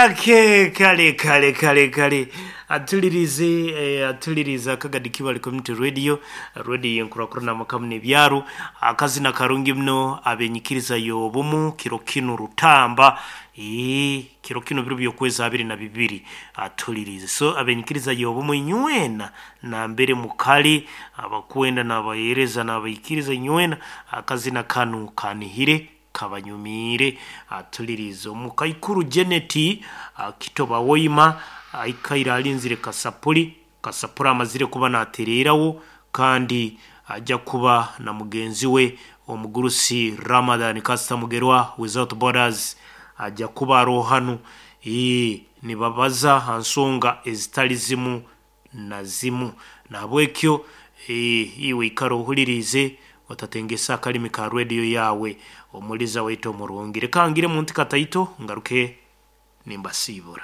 Ake kale kale kale kale atulirize atulirize akagadi Kibale Community Radio, radio yenkurakurana amakamu n'ebyaro. Akazina karungi muno abenyikiriza y'obumu kiro kinu rutamba. Kiro kinu biro by'okwezi 22 atulirize. So abenyikiriza y'obumu inywena nambere mukali abakwenda n'abaheereza n'abaikiriza inywena, akazina kanu kanihire kabanyumiire. Atulirize omukaikuru Janet Kitoba Woima aikaire alinzire kasapuli. Kasapuli amazire kuba natereerawo kandi ajja kuba na mugenzi we omugurusi Ramadhan Kasita Mugerwa Without Borders ajja kuba aroho hanu, nibabaza ha nsonga ezitali zimu na zimu. Nahabwekyo iwe ikara ohuliriize otatengesa akalimi ka radio yaawe omuliza waitu omurungi. Leka ngire munti kataito ngaruke nimbasiibura.